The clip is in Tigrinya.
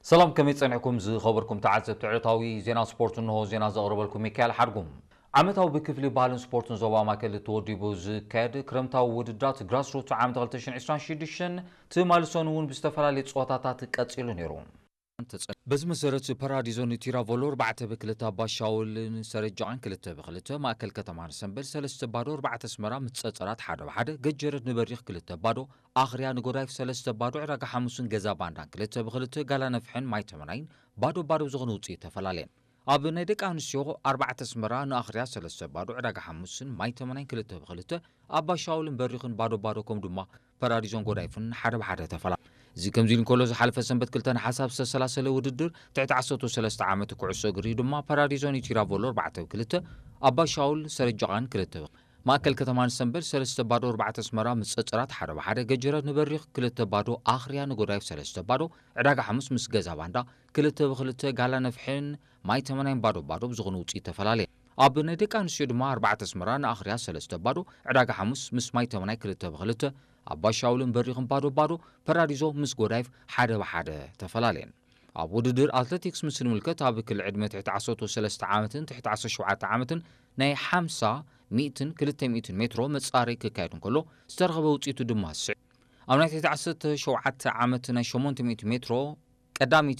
ሰላም፣ ከመይ ጸኒሕኩም ዝኸበርኩም ተዓዘብቲ ዕለታዊ ዜና ስፖርት? እንሆ ዜና ዘቕርበልኩም ሚካኤል ሓድጉም። ዓመታዊ ብክፍሊ ባህልን ስፖርትን ዞባ ማእከል ተወዲቡ ዝካየድ ክረምታዊ ውድድራት ግራስሩት ዓመት ክልተ ሽሕን ዕስራን ሽዱሽተን ትማሊ ሰኑይ እውን ብዝተፈላለየ ጸወታታት ቀጺሉ ነይሩ። በዚ መሰረት ፓራዲዞ ንቲራቮሎ ኣርባዕተ ብክልተ፣ ኣባሻውልን ሰረጃቓን ክልተ ብክልተ፣ ማእከል ከተማ ንሰንበል ሰለስተ ባዶ፣ ኣርባዕተ ኣስመራ ምስ ጸጸራት ሓደ ብሓደ፣ ገጀረት ንበሪኽ ክልተ ባዶ፣ ኣኽርያ ንጎዳይፍ ሰለስተ ባዶ፣ ዕዳጋ ሓሙስን ገዛ ባንዳን ክልተ ብክልተ፣ ጋላ ነፍሕን ማይ ተመናይን ባዶ ባዶ ብዝኾነ ውጽኢት ተፈላለየን። ኣብ ናይ ደቂ ኣንስትዮ ኣርባዕተ ኣስመራ ንኣኽርያ ሰለስተ ባዶ፣ ዕዳጋ ሓሙስን ማይ ተመናይን ክልተ ብክልተ፣ ኣባሻውልን በሪኽን ባዶ ባዶ፣ ከምኡ ድማ ፓራዲዞን ጎዳይፍን ሓደ ብሓደ ተፈላ። እዚ ከምዚ ኢሉ እንከሎ፣ ዝሓለፈ ሰንበት ክልተ ነሓሰ ኣብ ዝተሰላሰለ ውድድር ትሕቲ ዓሰርተ ሰለስተ ዓመት ኩዕሶ እግሪ ድማ ፓራዲዞ ንቲራቮሎ ኣርባዕተ ብክልተ፣ ኣባሻውል ሰረጃቓን ክልተ፣ ማእከል ከተማ ንሰንበል ሰለስተ ባዶ፣ ኣርባዕተ ኣስመራ ምስ ጸጸራት ሓደ ብሓደ፣ ገጀረት ንበሪኽ ክልተ ባዶ፣ ኣኽርያ ንጎዳይፍ ሰለስተ ባዶ፣ ዕዳጋ ሓሙስ ምስ ገዛ ባንዳ ክልተ ብክልተ፣ ጋላ ነፍሕን ማይ ተመናይን ባዶ ባዶ ብዝኾነ ውጽኢት ተፈላለየ። ኣብ ናይ ደቂ ኣንስትዮ ድማ ኣርባዕተ ኣስመራ ንኣኽርያ ሰለስተ ባዶ፣ ዕዳጋ ሓሙስ ምስ ማይ ተመናይ ክልተ ብክልተ፣ ኣባሻውልን በሪኽን ባዶ ባዶ፣ ፓራዲዞ ምስ ጎዳይፍ ሓደ ብሓደ ተፈላለየን። ኣብ ውድድር ኣትሌቲክስ ምስ ንምልከት፣ ኣብ ክሊ ዕድመ ትሕቲ ዓሰርተ ሰለስተ ዓመትን ትሕቲ ዓሰርተ ሸውዓተ ዓመትን ናይ ሓምሳ፣ ሚእትን ክልተ ሚእትን ሜትሮ መጻረይ ክካየድ እንከሎ፣ ዝተረኸበ ውጽኢቱ ድማ ስዕ። ኣብ ናይ ትሕቲ ዓሰርተ ሸውዓተ ዓመት ናይ ሸሞንተ ሚእቲ ሜትሮ ቀዳመይቲ